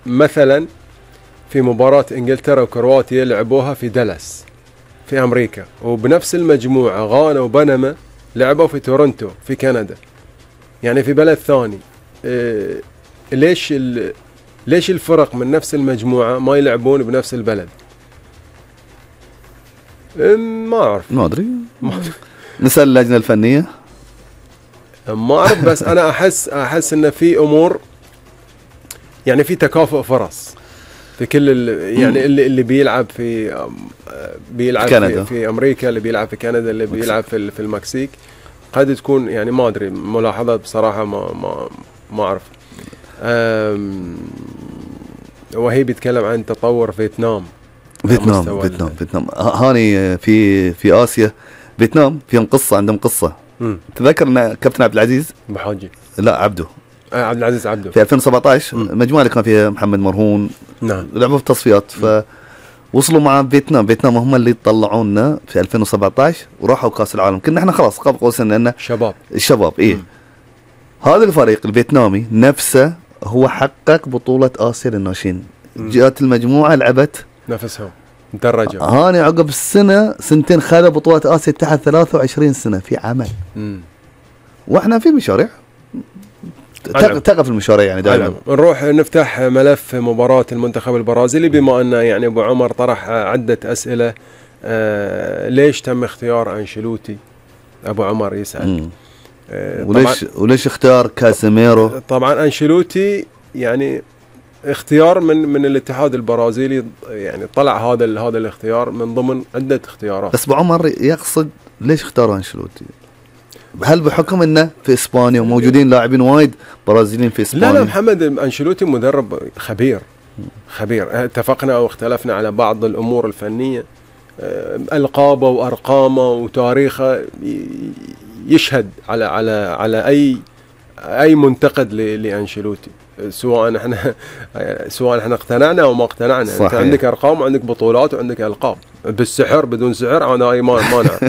مثلا في مباراة انجلترا وكرواتيا لعبوها في دالاس في امريكا، وبنفس المجموعة غانا وبنما لعبوا في تورنتو في كندا، يعني في بلد ثاني. ليش الفرق من نفس المجموعة ما يلعبون بنفس البلد؟ ما اعرف، ما ادري، نسأل اللجنة الفنية. ما اعرف، بس انا احس ان في امور، يعني في تكافؤ فرص في كل يعني اللي بيلعب في امريكا، اللي بيلعب في كندا، اللي بيلعب في المكسيك. قد تكون يعني ما ادري، ملاحظة بصراحة ما اعرف. وهي بيتكلم عن تطور فيتنام. هاني في آسيا فيتنام فيهم قصة، عندهم قصة. تذكر ان كابتن عبد العزيز بحاجي، لا عبده، عبد العزيز عبده، في 2017 المجموعة اللي كان فيها محمد مرهون، نعم، لعبوا في تصفيات، فوصلوا مع فيتنام هم اللي طلعونا في 2017 وراحوا كاس العالم. كنا احنا خلاص قاب قوسين لان الشباب ايه. هذا الفريق الفيتنامي نفسه هو حقق بطولة آسيا للناشئين. جاءت المجموعة لعبت نفسهم درجة. هاني عقب سنتين خذ بطولة آسيا تحت 23 سنة في عمل. واحنا في مشاريع تقف المشاريع يعني دائما. نروح نفتح ملف مباراة المنتخب البرازيلي، بما أن يعني أبو عمر طرح عدة أسئلة. ليش تم اختيار أنشيلوتي؟ أبو عمر يسأل. وليش اختار كاسيميرو؟ طبعا أنشيلوتي يعني اختيار من الاتحاد البرازيلي، يعني طلع هذا الاختيار من ضمن عدة اختيارات. بس أبو عمر يقصد ليش اختار أنشيلوتي؟ هل بحكم انه في اسبانيا وموجودين لاعبين وايد برازيليين في اسبانيا؟ لا محمد، أنشيلوتي مدرب خبير. اتفقنا او اختلفنا على بعض الامور الفنية، القابه وارقامه وتاريخه يشهد على اي منتقد لأنشيلوتي، سواء احنا اقتنعنا او ما اقتنعنا. صحيح. انت عندك ارقام وعندك بطولات وعندك القاب، بالسحر بدون سحر انا اي مانع.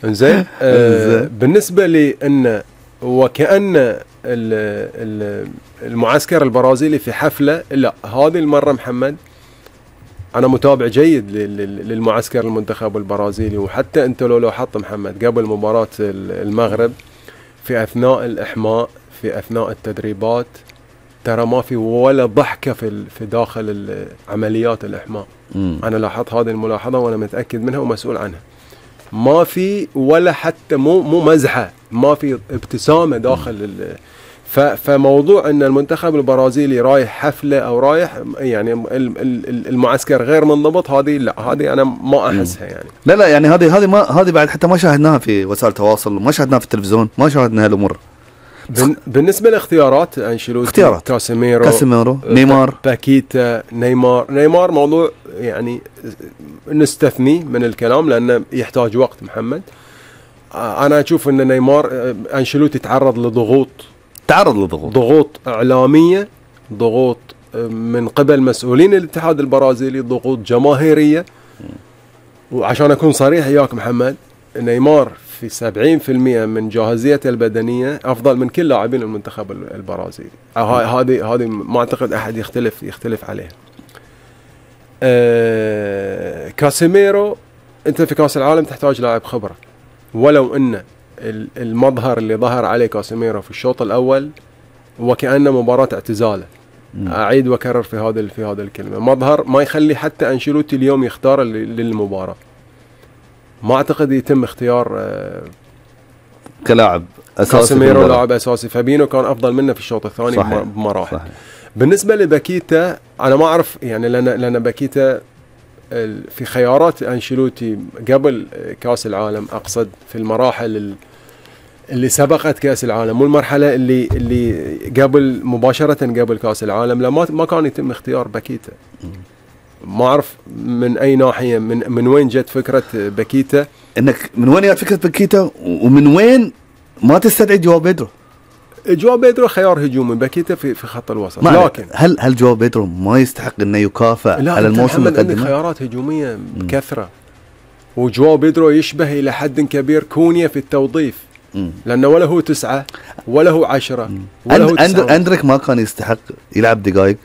انزين. بالنسبه لي ان وكأن المعسكر البرازيلي في حفله، لا هذه المره محمد انا متابع جيد للمعسكر المنتخب البرازيلي. وحتى انت لو لاحظت محمد قبل مباراه المغرب في اثناء الاحماء، في اثناء التدريبات، ترى ما في ولا ضحكه في داخل عمليات الاحماء. انا لاحظت هذه الملاحظه وانا متاكد منها ومسؤول عنها. ما في ولا حتى مو مزحه، ما في ابتسامه داخل فموضوع ان المنتخب البرازيلي رايح حفله او رايح يعني المعسكر غير منضبط، هذه لا، هذه انا ما احسها يعني. لا يعني هذه بعد حتى ما شاهدناها في وسائل التواصل، ما شاهدناها في التلفزيون، ما شاهدنا هالامور. بالنسبه لاختيارات انشيلوتي، كاسيميرو، نيمار، باكيتا، نيمار موضوع يعني نستثني من الكلام لانه يحتاج وقت محمد. انا اشوف ان نيمار انشيلوتي تعرض ضغوط اعلاميه، ضغوط من قبل مسؤولين الاتحاد البرازيلي، ضغوط جماهيريه. وعشان اكون صريح وياك محمد، نيمار في 70% من جاهزيته البدنيه افضل من كل لاعبين المنتخب البرازيلي. هذه ما اعتقد احد يختلف عليها. كاسيميرو، انت في كاس العالم تحتاج لاعب خبره، ولو ان المظهر اللي ظهر عليه كاسيميرو في الشوط الاول وكأنه مباراة اعتزاله. اعيد واكرر في هذا الكلمة، مظهر ما يخلي حتى أنشيلوتي اليوم يختار للمباراة. ما اعتقد يتم اختيار كلاعب اساسي كاسيميرو لاعب اساسي. فابينو كان افضل منه في الشوط الثاني بمراحل. بالنسبة لباكيتا انا ما اعرف يعني، لان باكيتا في خيارات أنشيلوتي قبل كاس العالم، اقصد في المراحل اللي سبقت كاس العالم، والمرحله اللي قبل مباشره قبل كاس العالم، لا ما كان يتم اختيار باكيتا. ما اعرف من اي ناحيه، من وين جت فكره باكيتا، انك من وين جت فكره باكيتا، ومن وين ما تستدعي جواو بيدرو خيار هجومي، باكيتا في خط الوسط. لكن هل جواو بيدرو ما يستحق انه يكافئ على الموسم اللي قدمه؟ خيارات هجوميه بكثره، وجواو بيدرو يشبه الى حد كبير كونيا في التوظيف، لانه ولا هو 9 ولا هو 10 ولا هو 9. أندريك ما كان يستحق يلعب دقائق.